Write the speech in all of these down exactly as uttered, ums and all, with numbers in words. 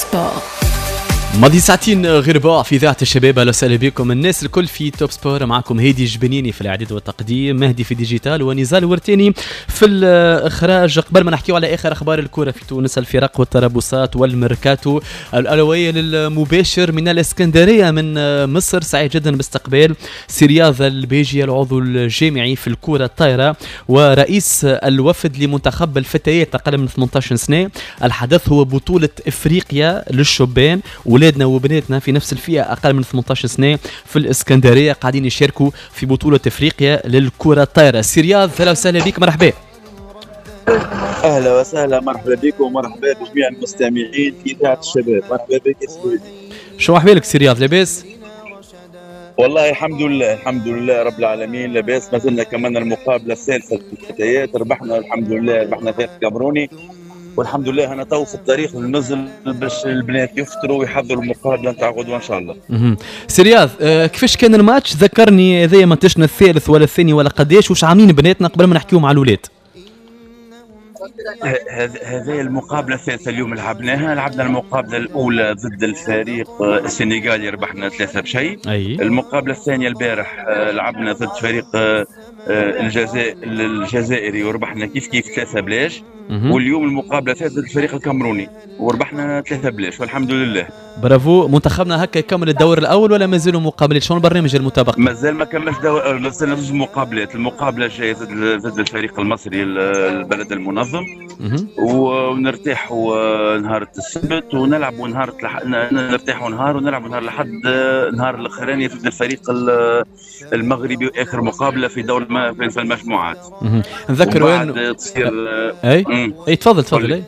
Sport. ماضي ساعتين غير ربع في اذاعة الشباب. اهلا وسهلا بكم الناس الكل في Top Sport. معكم هادي الجبنيني في الاعداد والتقديم، مهدي في digital، ونزال ورتيني في الاخراج. قبل ما نحكيو على اخر اخبار الكره في تونس، الفرق والتربصات والميركاتو، الاولوية للمباشر من الاسكندرية من مصر. سعيد جدا باستقبال سي رياض البيجي، العضو الجامعي في الكره الطايره ورئيس الوفد لمنتخب الفتيات اقل من ثمنطاش سنة. الحدث هو بطوله افريقيا للشبان، ولادنا وبناتنا في نفس الفئة اقل من ثمنطاش سنة في الاسكندرية قاعدين يشاركوا في بطوله افريقيا للكرة الطايره. سي رياض، اهلا وسهلا بك، مرحبا. اهلا وسهلا، مرحبا بكم ومرحبا بجميع المستمعين في اذاعة الشباب. مرحبا بك يا سيدي. شو احوالك سي رياض، لاباس؟ والله الحمد لله، الحمد لله رب العالمين، لاباس. ما زلنا كملنا المقابلة الثالثة للفتيات، ربحنا الحمد لله، ربحنا فريق كامروني والحمد لله. انا تو في الطريق للنزل باش البنات يفطروا ويحضروا المقابلة نتاع غدوه ان شاء الله. سي رياض، آه كيفاش كان الماتش؟ ذكرني هذايا ماتشنا الثالث ولا الثاني ولا قداش، واش عاملين بناتنا قبل ما نحكيو مع الاولاد؟ هذه المقابلة الثالثة اليوم لعبناها. لعبنا المقابلة الاولى ضد الفريق السنغالي، ربحنا ثلاثة بشيء. أي. المقابلة الثانية البارح لعبنا ضد فريق الجزائر الجزائري وربحنا كيف كيف ثلاثة بلاش. واليوم المقابلة الثالثة ضد الفريق الكامروني وربحنا ثلاثة بلاش والحمد لله. برافو. منتخبنا هكا يكمل الدور الاول ولا مازالوا مقابلات؟ شنو البرنامج المتبقي؟ مازال ما كملش دور، مازال زوج مقابلات. المقابلة الجاية ضد الفريق المصري البلد المنظم، ونرتاحوا نهار السبت ونلعبوا نهار الح... نرتاحوا نهار ونلعبوا نهار الأحد، نهار الاخراني ضد الفريق المغربي، واخر مقابله في دور في المجموعات. نذكروا انه تصير اي اي تفضل تفضل. اي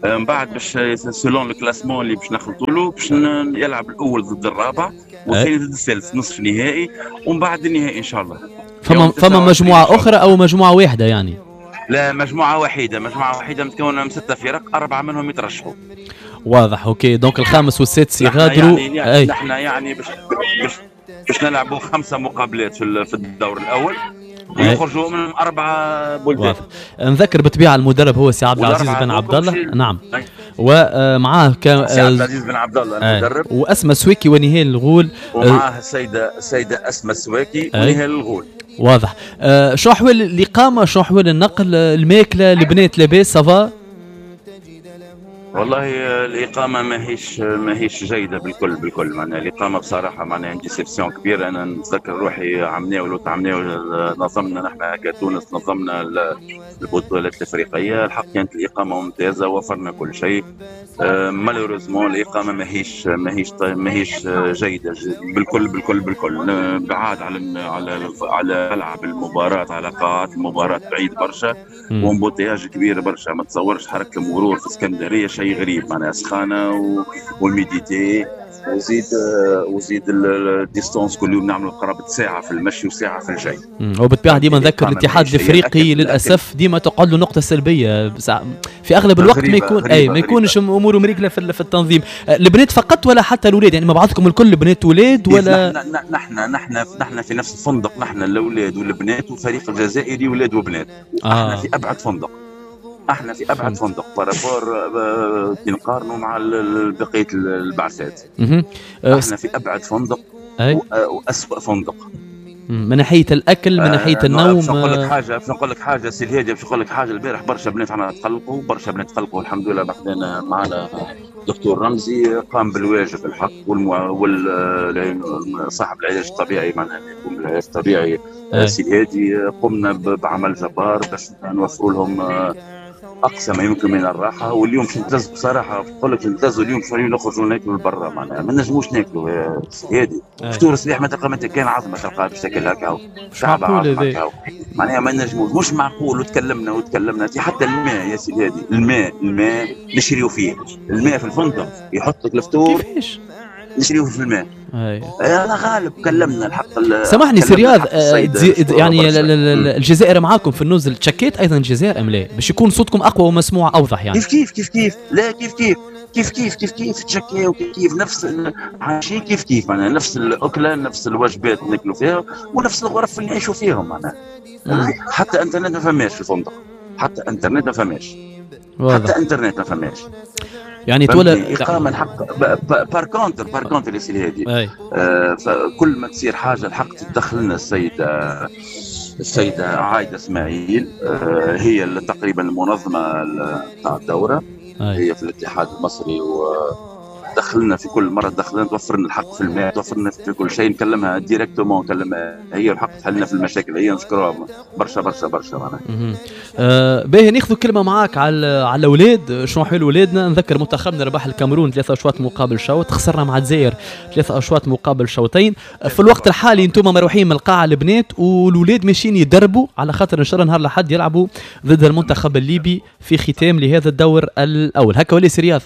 من بعد باش selon ال classement اللي باش نخلطوا له، باش يلعب الاول ضد الرابع والثاني ضد الثالث، نصف نهائي ومن بعد النهائي ان شاء الله. فما فما مجموعة اخرى او مجموعة واحدة يعني؟ لا، مجموعة وحيده، مجموعة وحيده متكونه من ستة فرق، اربعة منهم يترشحوا. واضح، OK. donc الخامس والسادس يغادروا. يعني نحن يعني باش باش باش نلعبوا خمسة مقابلات في في الدور الاول ويخرجوا من اربعة بلدان. نذكر بالطبيعة المدرب هو سي عبد العزيز بن عبد الله. نعم، ومعاه كان سي عبد العزيز بن عبد الله المدرب، واسماء سويكي ونهال الغول. ومعاه السيدة السيدة اسماء سويكي ونهال الغول. واضح. أه شو احوال الاقامة، شو احوال النقل، الماكلة، البنات لاباس ça va؟ والله الإقامة ماهيش ماهيش جيدة بالكل بالكل. معناها الإقامة بصراحة معناها déception كبيرة. أنا نتذكر روحي عمناول وتعمناول نظمنا نحن كتونس، نظمنا البطولات الإفريقية، الحق كانت الإقامة ممتازة، وفرنا كل شيء. malheureusement الإقامة ماهيش ماهيش ماهيش جيدة بالكل بالكل بالكل. بعاد على على على ملعب المباراة، على قاعات المباراة بعيد برشا، و embouteillage كبير برشا. ما تصورش حركة المرور في اسكندرية شيء غريب، معناها سخانه وال humidité، وزيد وزيد ال distance كل يوم نعملوا قرابة ساعة في المشي وساعة في الجاي. وبالطبيعه ديما نذكر الاتحاد الافريقي للاسف ديما تقعد له نقطة سلبية في اغلب الوقت، ما يكون اي ما يكونش اموره مريكله في التنظيم. البنات فقط ولا حتى الاولاد؟ يعني مع بعضكم الكل بنات ولاد ولا؟ نحن نحن نحن في نفس الفندق، نحن الاولاد والبنات والفريق الجزائري ولاد وبنات. آه. احنا في ابعد فندق، احنا في ابعد فندق par rapport كي نقارنوا مع بقية البعثات. احنا في ابعد فندق واسوأ فندق من ناحية الاكل، من ناحية آه النوم. باش نقول لك حاجة، باش نقول لك حاجة سي الهادي، باش نقول لك حاجة. البارح برشا بنات عنا تقلقوا، برشا بنات تقلقوا الحمد لله. بعدنا معنا دكتور رمزي قام بالواجب الحق، وال صاحب العلاج الطبيعي معناها يقوم بالعلاج الطبيعي سي الهادي. قمنا بعمل جبار باش نوفروا لهم اقصى ما يمكن من الراحة. واليوم باش نتلز بصراحة، نقول لك نتلزوا اليوم باش نخرجوا ناكلوا لبرا، معناها ما نجموش ناكلوا يا سي هادي. فطور الصباح ما تلقى ما كان عظمه تلقاها باش تاكل هكا، مش معقول هذا معناها ما نجموش، مش معقول. وتكلمنا وتكلمنا حتى الماء يا سي هادي، الماء الماء نشريو فيه، الماء في الفندق يحط لك الفطور كيفاش نشريوه في الماء. انا غالب كلمنا الحق. سامحني سي رياض، يعني الجزائر معاكم في النزل، تشكيت ايضا الجزائر ام لا؟ باش يكون صوتكم اقوى ومسموع اوضح يعني. كيف كيف كيف كيف لا كيف كيف كيف كيف كيف كيف تشكيو كيف كيف نفس عايشين كيف كيف معناها نفس الاكلة، نفس الوجبات ناكلوا فيها، ونفس الغرف اللي نعيشوا فيهم معناها. حتى انترنت ما فماش في الفندق، حتى انترنت ما فماش، حتى انترنت ما فماش. يعني تولى اقامه الحق. par contre par contre يا سيدي هادي، آه كل ما تصير حاجة الحق تدخل لنا السيدة السيدة عايدة اسماعيل، آه هي تقريبا المنظمة تاع الدورة. أي. هي في الاتحاد المصري، ودخلنا في كل مرة دخلنا توفر لنا الحق في الماء، توفر لنا في كل شيء، نكلمها directement، نكلمها هي الحق تحل في المشاكل هي، نشكرها برشا برشا برشا معناها. أه باهي، ناخذ كلمة معاك على على الاولاد، شنو حلو اولادنا. نذكر منتخبنا ربح الكاميرون ثلاثة اشواط مقابل شوط، خسرنا مع الجزائر ثلاثة اشواط مقابل شوطين. في الوقت الحالي انتم مروحين من القاعة البنات، والاولاد ماشيين يدربوا على خاطر ان شاء الله نهار الاحد يلعبوا ضد المنتخب الليبي في ختام لهذا الدور الاول. هكا ولا سي رياض؟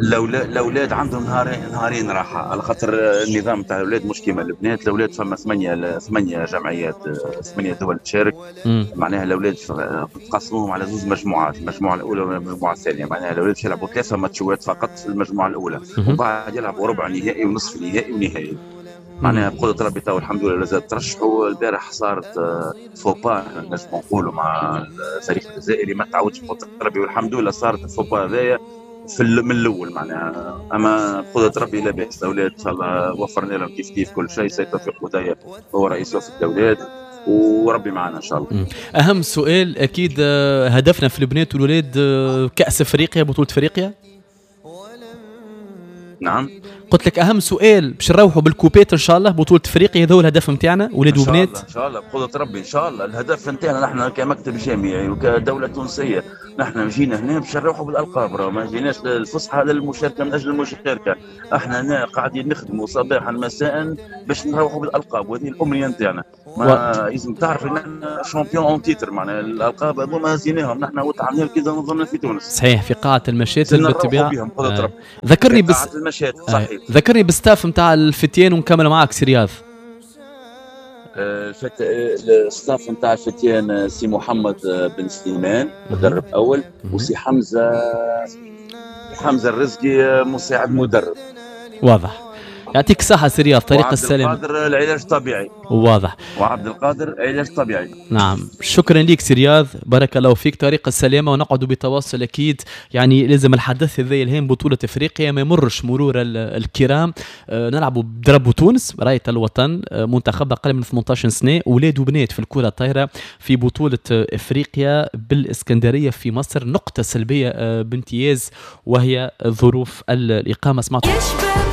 الاولاد عندهم نهارين نهارين راحة، على خاطر النظام تاع الاولاد مش كيما البنات. الاولاد فما ثمانية ثمانية جمعيات، ثمانية دول تشارك. معناها الاولاد تقسموهم على زوج مجموعات، المجموعة الاولى والمجموعة الثانية. معناها الاولاد يلعبوا ثلاثة ماتشات فقط في المجموعة الاولى، وبعد يلعبوا ربع نهائي ونصف نهائي ونهائي. معناها بقدرة ربي تو الحمد لله زاد ترشحوا. البارح صارت faux pas نجم نقولوا مع الفريق الجزائري، ما تعودش بقدرة ربي والحمد لله صارت ال faux pas هذايا في من الاول معناها. اما بقدرة ربي لاباس الاولاد ان شاء الله، وفرنا لهم كيف كيف كل شيء. سيد توفيق بودية هو رئيس وفد الاولاد، وربي معنا ان شاء الله. اهم سؤال اكيد، هدفنا في البنات والولاد كاس افريقيا، بطوله افريقيا. نعم، قلت لك اهم سؤال باش نروحوا بال coupe ات ان شاء الله، بطوله افريقيا، هذا هو الهدف نتاعنا ولاد وبنات ان شاء الله بقدره ربي. ان شاء الله الهدف نتاعنا نحن كمكتب جامعي وكدوله تونسية، نحن جينا هنا باش نروحوا بالالقاب، ما جيناش للفسحه للمشاركة من اجل المشاركة. احنا هنا قاعدين نخدموا صباحا مساء باش نروحوا بالالقاب، وهذه الامنية نتاعنا. ما لازم تعرف ان احنا champion en titre، معناها الالقاب هذوما هزيناهم نحن وتعملنا كي نظمنا في تونس. صحيح، في قاعة المشاتل بالطبيعة. آه. ذكرني بس المشاتل صحيح. آه. ذكرني بال staff نتاع الفتيان ونكمل معاك سي رياض. الفت... ال staff نتاع الفتيان سي محمد بن سليمان مدرب اول، وسي حمزة حمزة الرزقي مساعد مدرب. واضح. يعطيك الصحة سي رياض، طريق السلام. وعبد القادر العلاج الطبيعي. واضح. وعبد القادر علاج طبيعي. نعم، شكرا لك سي رياض، بارك الله فيك، طريق السلامة، ونقعد بتواصل أكيد. يعني لازم الحدث هذا الهام بطولة أفريقيا ما يمرش مرور الكرام. آه نلعبوا ب drapeau تونس، راية الوطن، آه منتخب أقل من ثمانية عشر سنة، أولاد وبنات في الكرة الطايرة في بطولة أفريقيا بالإسكندرية في مصر. نقطة سلبية آه بامتياز وهي ظروف الإقامة. سمعتوا